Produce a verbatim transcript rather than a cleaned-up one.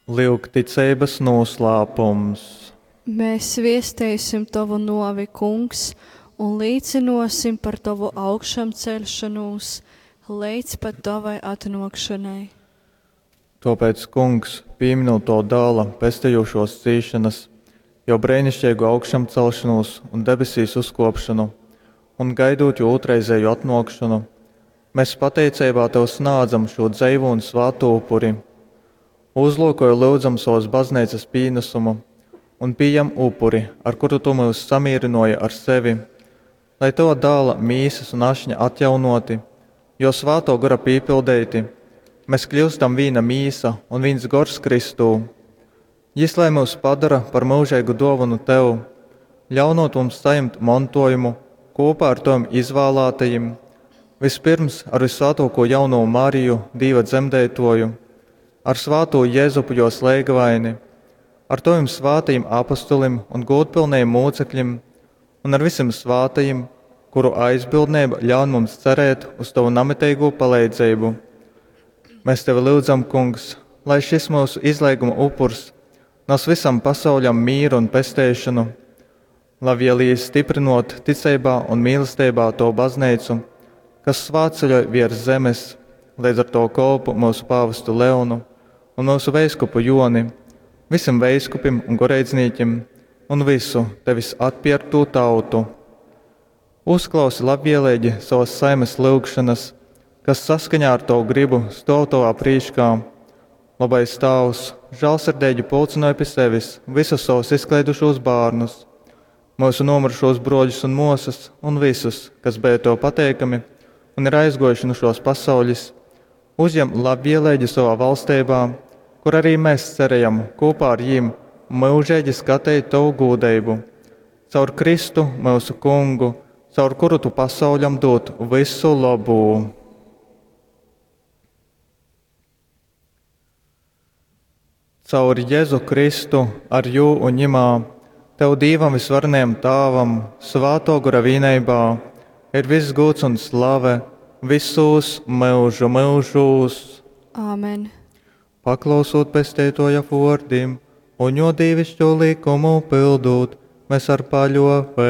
Lyugticeibas nūslāpums. Mēs viesteisim Tovu nuovi, Kungs, un līcynuosim par Tovu augšamceļšonūs leidz pat Tovai atnuokšonai. Tōpēc, Kungs, pīminūt Tō Dāla pestejūšōs cīšanas, jō breiniškeigu augšamcelšonūs un debesīs uzkōpšonu, un gaidūt jō ūtrreizēju atnōkšonu, mēs pateiceibā Tev snādzam šū dzeivū un svātū upuri. Uzlūkoj, lyudzam, sovas bazneicas pīnasumu un pījam upuri, ar kuru Tu myus samīrynōji ar sevi, lai Tova Dāla mīsas un ašņa atjaunōti, jo Svātō Gora pīpildeiti, mēs kļūstam vīna mīsa un vīns gors Kristū. Jys lai myus padara par myužeigu dōvonu Tev, ļaunot mums sajimt montojumu kūpā ar Tovim izvālātajim, vispirms ar Vyssvātōkū jaunū Mariju, Dīva dzemdeitōju, ar svātū Jezupu jōs leigavaini, ar Tovim svātajim apostolim un gūdpilnajim mūcekļim un ar visim svātajim, kuru aizbildneiba ļaun mums cerēt uz Tovu namiteigū paleidzeibu. Mēs Tevi lyudzam, Kungs, lai šis mūsu izleiguma upurs nes visam pasauļam mīru un pesteišonu, labvēlīgi stiprinot ticeibā un mīlestībā to baznīcu, kas svātceļoj viers zemes, līdz ar to kolpu mūsu pāvestu Leonu un mūsu veiskupu Joni, visiem veiskupim un goreidznīkim un visu tevis atpierktū tautu. Uzklausi labvēlīgi savas saimes lyugšanas, kas saskaņā ar tavu gribu stāv tavā prīškā. Labais Tāvs, žēlsirdīgi pulcināja pie sevis visus savus izklaidušos bērnus, mūsu nomirušos broļus un māsas un visus, kas bija tev pateikami un ir aizgojuši no šos pasaules, uzņem labvēlīgi savā valstībā, kur arī mēs cerējam kopā ar jiem mūžīgi skatīt tavu gūdību. Caur Kristu, mūsu kungu, caur kuru tu pasauļam dod visu labu. Caur Jēzu Kristu, ar jū un ņemā, Tev Dīvam visvarenajam Tāvam, Svāto Gora vīneibā, ir viss gūds un slave visos mūžu mūžos. Āmen. Paklausot pesteitoja vārdim un jo dīvišķo likumu pildot, mēs ar paļovēbu